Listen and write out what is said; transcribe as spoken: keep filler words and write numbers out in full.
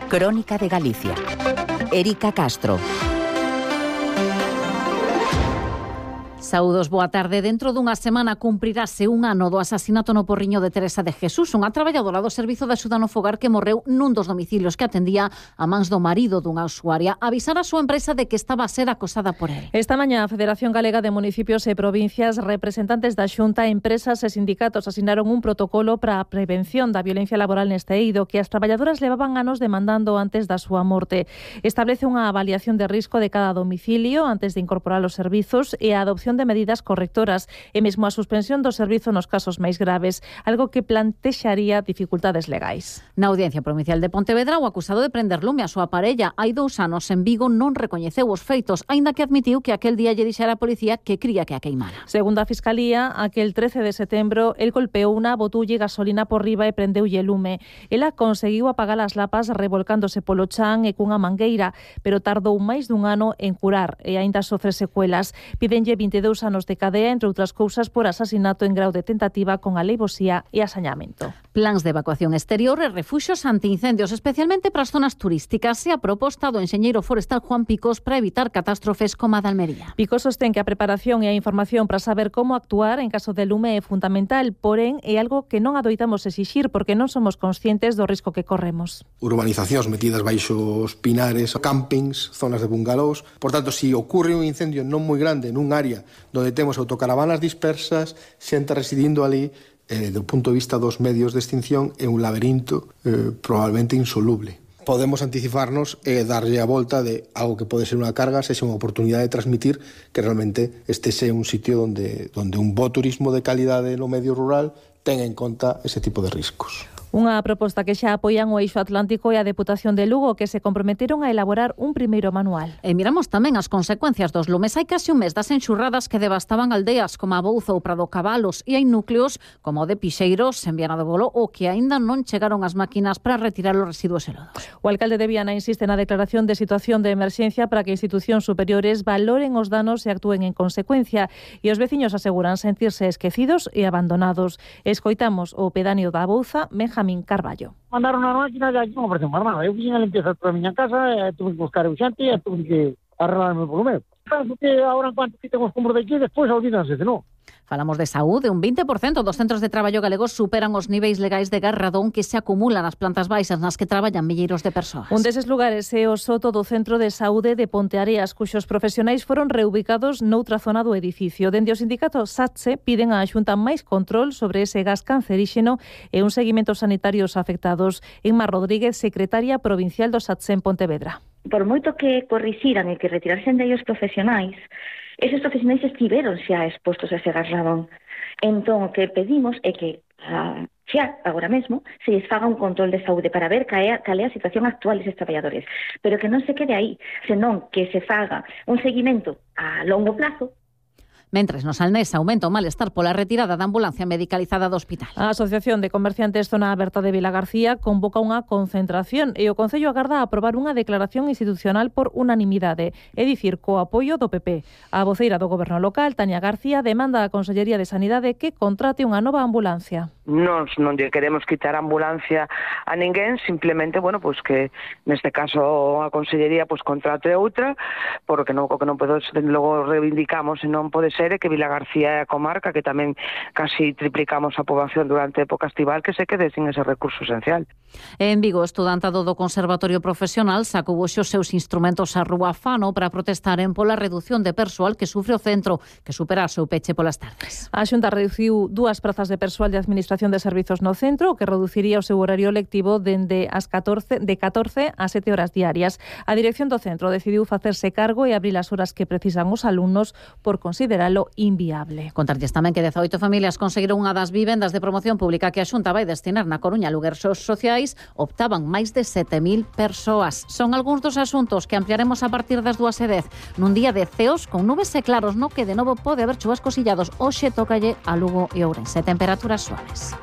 Crónica de Galicia. Érica Castro. Saúdos, boa tarde. Dentro dunha semana cumprirase un ano do asasinato no Porriño de Teresa de Jesús, unha traballadora do Servizo de Axuda no Fogar que morreu nun dos domicilios que atendía a mans do marido dunha usuaria. Avisar a súa empresa de que estaba a ser acosada por él. Esta mañá a Federación Galega de Municipios e Provincias, representantes da Xunta, empresas e sindicatos asinaron un protocolo para a prevención da violencia laboral neste eido que as traballadoras levaban anos demandando antes da súa morte. Establece unha avaliación de risco de cada domicilio antes de incorporar os servizos e a adopción de medidas correctoras e mesmo a suspensión do servizo nos casos máis graves, algo que plantexaría dificultades legais. Na Audiencia Provincial de Pontevedra, o acusado de prender lume a súa parella hai dous anos en Vigo non recoñeceu os feitos, aínda que admitiu que aquel día lle dixera a policía que cría que a queimara. Segundo a Fiscalía, aquel trece de setembro, el golpeou unha botulle gasolina por riba e prendeulle lume. Ela conseguiu apagar as lapas revolcándose polo chan e cunha mangueira, pero tardou máis dun ano en curar e aínda sofre secuelas. Pídenlle vinte e dous anos de cadea, entre outras cousas, por asasinato en grau de tentativa con alevosía e asañamento. Plans de evacuación exterior e refuxios antiincendios, especialmente para as zonas turísticas, se a proposta do enxeñeiro forestal Juan Picos para evitar catástrofes como a de Almería. Picos sostén que a preparación e a información para saber como actuar en caso de lume é fundamental, porén é algo que non adoitamos exixir porque non somos conscientes do risco que corremos. Urbanizacións metidas baixo os pinares, campings, zonas de bungalós. Por tanto, se si ocurre un incendio non moi grande nun área donde temos autocaravanas dispersas, xente residindo ali, eh, do punto de vista dos medios de extinción, é un laberinto eh, probablemente insoluble. Podemos anticiparnos e darlle a volta de algo que pode ser unha carga, sexa unha oportunidade de transmitir que realmente este sea un sitio onde, onde un bo turismo de calidade no medio rural tenga en conta ese tipo de riscos. Unha proposta que xa apoian o Eixo Atlántico e a Deputación de Lugo, que se comprometeron a elaborar un primeiro manual. E miramos tamén as consecuencias dos lumes. Hai case un mes das enxurradas que devastaban aldeas como a Bouza ou Prado Cabalos e hai núcleos como o de Pixeiros, en Viana do Bolo, o que aínda non chegaron as máquinas para retirar os residuos e lodos. O alcalde de Viana insiste na declaración de situación de emerxencia para que institucións superiores valoren os danos e actúen en consecuencia, e os veciños aseguran sentirse esquecidos e abandonados. Escoitamos o pedáneo da Bouza, Benjamín Carballo. Mandaron a máquina e aquí non aparecen máis nada. Eu fixe a limpieza toda a miña casa e tuve que buscar eu xente e tuve que arreglarme polo meu. Penso que agora en cuanto quiten os cumbros de aquí, despois olvídanse de non. Falamos de saúde. Un vinte por cento dos centros de traballo galegos superan os niveis legais de garradón que se acumulan nas plantas baixas nas que traballan milleiros de persoas. Un deses lugares é o soto do Centro de Saúde de Ponteareas, cuxos profesionais foron reubicados noutra zona do edificio. Dende o sindicato SATSE piden á Xunta máis control sobre ese gas canceríxeno e un seguimento sanitario aos afectados. Inma Rodríguez, secretaria provincial do SATSE en Pontevedra. Por moito que corrixiran e que retirarsen de ellos profesionais, esos profesionais estiveron xa expostos a ese gas radón. Entón, o que pedimos é que a, xa, agora mesmo, se lles faga un control de saúde para ver cal é, cal é a situación actual deses traballadores, pero que non se quede aí, senón que se faga un seguimento a longo plazo. Mentres no Salnés aumenta o malestar pola retirada da ambulancia medicalizada do hospital. A Asociación de Comerciantes Zona Aberta de Vilagarcía convoca unha concentración e o Concello agarda a aprobar unha declaración institucional por unanimidade, é dicir, co apoio do P P. A voceira do Goberno local, Tania García, demanda á Consellería de Sanidade que contrate unha nova ambulancia. Nos non lle queremos quitar a ambulancia a ninguén, simplemente, bueno, pois que neste caso a Consellería pois contrate outra, porque non, o que non podo, logo reivindicamos e non pode ser é que Vilagarcía é a comarca que tamén casi triplicamos a poboación durante a época estival que se quede sin ese recurso esencial. En Vigo, o estudantado do Conservatorio Profesional sacou hoxe os seus instrumentos á rúa Fano para protestaren pola reducción de persoal que sufre o centro, que supera o seu peche polas tardes. A Xunta reduciu dúas prazas de persoal de Administración de Servizos no centro, que reduciría o seu horario lectivo dende as catorce, de catorce a sete horas diarias. A dirección do centro decidiu facerse cargo e abrir as horas que precisan os alumnos por consideralo inviable. Contarlles tamén que dezaoito familias conseguiron unha das vivendas de promoción pública que a Xunta vai destinar na Coruña a lugares sociais, optaban máis de sete mil persoas. Son algúns dos asuntos que ampliaremos a partir das dúas e dez nun día de ceos con nubes e claros no que de novo pode haber chuvascos illados. Hoxe tócalle a Lugo e Ourense. Temperaturas suaves.